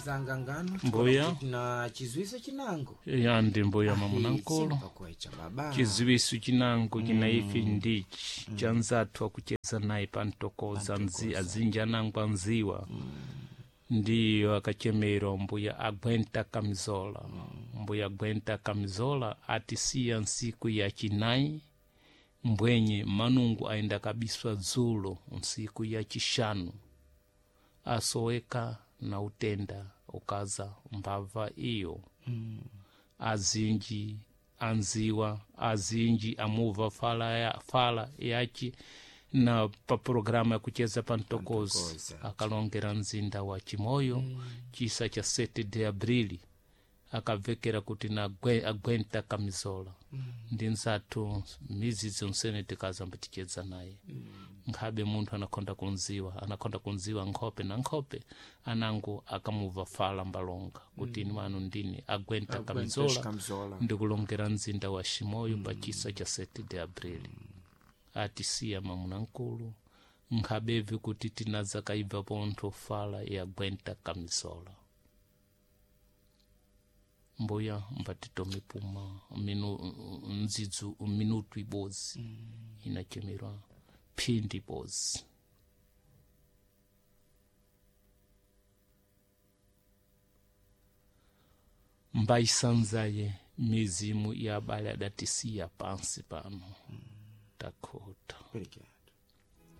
Nzanga ngano Mbuya. Na chizwiso chinango Ya ndi mbuya mamunankulu. Pakuecha baba. Chiziwiso chinango china ife ndichi cha nzathu akucheza naye pantokoza nzi azinji anangwa nziwa ndiyo akachemerwa mbuya agwenta kamizola. Mbuya agwenta kamizola atisiya nsiku ya chinayi mbwenye manungu aenda kabiswa dzulo nsiku ya chishanu asoweka na utenda ukaza mbava iyo. Azinji anziwa azinji amuva fala yachi na pa programa ya kucheza pantokozi Pantokozi. Akalongera mzinda wa Chimoyo chisa cha 7 de abrili akavekera kuti na agwenta kamizola. Ndi nzathu mizi zonsene tikazamba ticheza naye. Nkhabe munthu anakhonda kunziwa, anakhonda kunziwa nkhope na nkhope anango akamuva fala mbalonga kuti inu anu ndini agwenta kamizola Kamizola. Ndikulongera mzinda wa Chimoyo pa chisa cha 7 de abrili atisiya mamunankulu nkhabevi kuti tinaza kaibva pontho fala ya gwenta kamizola. Mbuya mbatitome puma minu ndzidzu minutu ibodzi inachemerwa phindi ibodzi. Mbaisanzaye mizimu ya abale adatisiya pansi pano. Takhota. Pereke.